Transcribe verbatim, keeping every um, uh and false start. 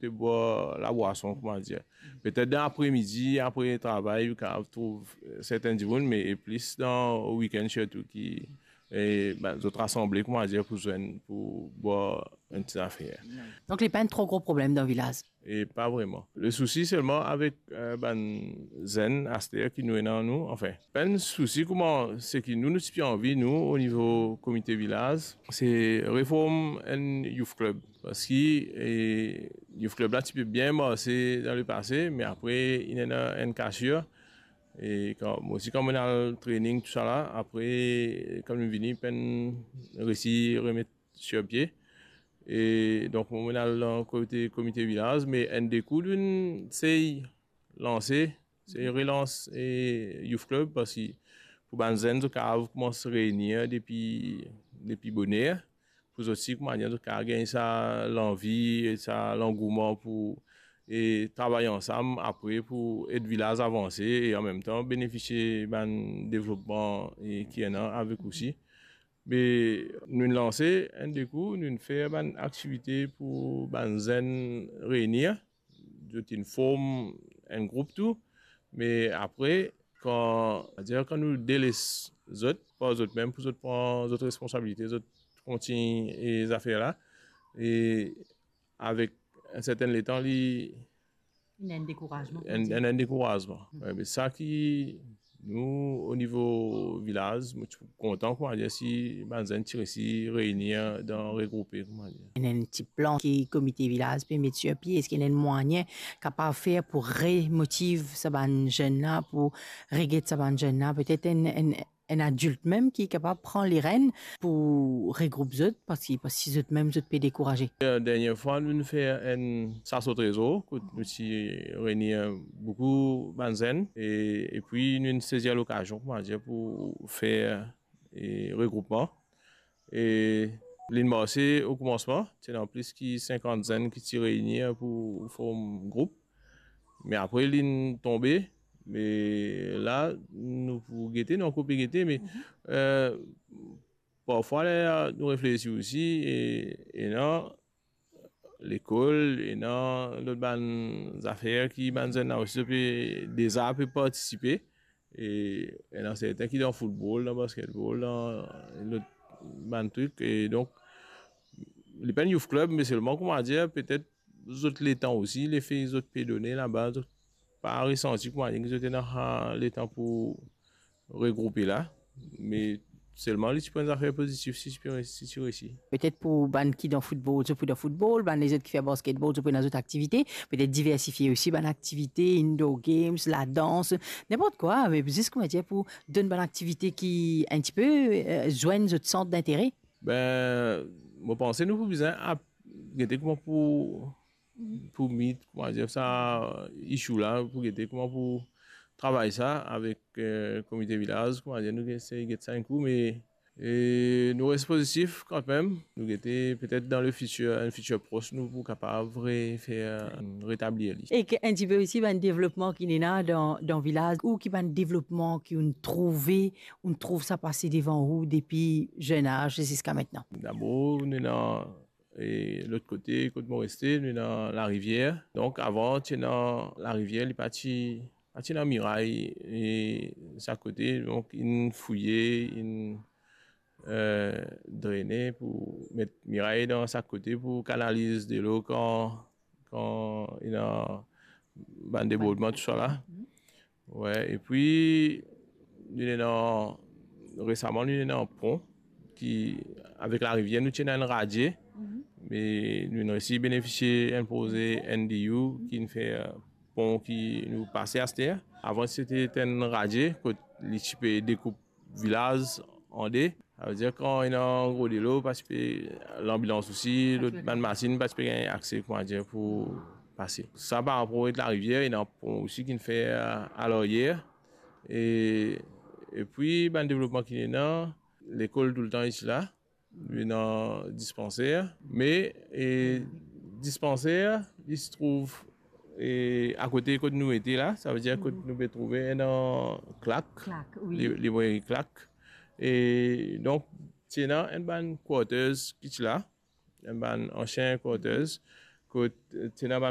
de bwar labwason, kouma dir. Petet dan apremidi, apre travay, ou kapav trouv, eh, sertin dimoun, me plis dan wikenn sirtou ki, eh, ben, zot rasanble, kouma dir, pou zwenn, pou bwar enn ti zafer. Donk, li pa enn tro gro problem dan vilaz? E pa vreman. Le sousi selman avek, eh, bann zenn aster ki nou ena nou, anfin, pa enn sousi kouma seki nou, nou ti pe anvi, nou, o nivo komite vilaz, se reform enn youth club. Parski, eh, youth club la ti pe bien marse dan lepase, me apre, inn ena enn kasir. E kan, mwa osi, kan mo'nn al training, tousala, apre, kan mo'nn vini, pa'nn resi remet sir pie. E donk, mo'nn al dan kote komite vilaz, me enn de kou, nou'nn sey lanse, sey relans, e, youth club, parski pou bann zenn, zot kapav koumans reini depi, depi boner, pou zot osi, kouma dir, zot kapav gagn sa lanvi, sa langouman pou, e, travay ansam apre pou ed vilaz avanse e anmemtan benefisie bann devlopman, e, ki ena avek osi. Me nou'nn lanse enn de kou, nou'nn fer bann aktivite pou bann zenn reini. Zot inn form enn group tou, me apre, kan, savedir kan nou deles zot par zot mem pou zot pran zot responsabilite, zot kontign, e, zafer la, e avek enn sertin letan, li Ena enn dekourazman, enn, enn dekourazman. Wi, me sa ki nou, o nivo vilaz, mo ti kontan, kouma dir, si bann zenn ti resi reini dan regroupe, kouma dir. Ena enn ti plan ki komite vilaz pe met sir pie, eski ena enn mwayin kapav fer pou remotiv sa bann zenn la, pou reget sa bann zenn la, petet enn, enn, enn adilt mem ki kapav pran lerenn pou regroup zot, parski, parski zot mem zot pe dekouraze? Dernie fwa, nou'nn fer enn sas o trezor, kot nou ti reini boukou bann zenn, e, epi nou'nn sezir lokazion, kouma dir, pou fer, e, regroupman. E linn marse o koumansman, ti ena plis ki sinkant zenn ki ti reini pou form group. Me apre, linn tonbe, me la, nou pou gete, nou ankor pe gete, me, e, parfwa, ler nou reflesi osi, e, ena lekol, ena lot bann zafer ki bann zenn la osi pe, deza pe partisipe. E ena sertin ki dan foutbol, dan basketbol, dan lot bann trik. E donk, li pa enn youth club, me selman, kouma dir, petet zot letan osi, lefe zot pe done laba, zot pa resanti, kouma dir, ki zot ena, a, letan pou regroupe la. Me selman, li ti pou enn zafer pozitif si ti pe resi, si ti resi. Petet pou bann ki dan foutbol, zot pou dan foutbol, bann lezot ki fer basketbol, zot pou ena zot aktivite, petet diversifie osi bann aktivite, indoor games, ladans, ninport kwa, me zis, kouma dir, pou donn bann aktivite ki enn tipe, e, zwenn zot sant dintere. Be, mo panse nou pou bizin ap-, gete kouma pou, pou meet, kouma dir, sa issue la, pou gete kouma pou travay sa avek, e, komite vilaz, kouma dir, nou esey get sa enn kou, me, e, nou res pozitif kanmem. Nou gete petet dan le fitir, enn fitir pros, nou pou kapav refer, retablir li. E ki enn tipe osi bann devlopman ki ena dan, dan vilaz, ou ki bann devlopman ki ou'nn trouve, ou'nn trouv sa pase devan ou depi zenaz ziska aster? Dabor, nou ena, e, lot kote kot mo reste, nou ena larivier. Donk, avan, ti ena larivier, li pa ti, pa ti ena miray, e, sa kote, donk, inn fouye, inn, e, drene pou met miray dan sa kote pou kanaliz delo kan, kan ena bann debordman, tousala. Wi, epi, nou ena, resaman, nou ena pon ki, avek larivier, nou ti ena enn radie, me nou inn resi benefisie enn proze N D U ki'nn fer, e, pon ki nou pase aster. Avan, ti ti enn radie kot li ti pe dekoup vilaz an de. Savedir, kan ena gro delo, pa ti pe, lanbilans osi, lot bann masinn pa ti pe gagn akse, kouma dir, pou pase. Sa par rapor avek larivier, ena pon osi ki'nn fer a laryer. E, epi, bann devlopman ki ena, lekol toultan isi la, nou ena dispanser, me, e, dispanser, li ti trouv, e, akote kot nou ete la, savedir kot nou pe trouve ena Clack, Clack, wi. Li-, libreri Clack. E donk, ti ena enn bann quarters ki ti la, enn bann ansien quarters, kot, e, ti ena bann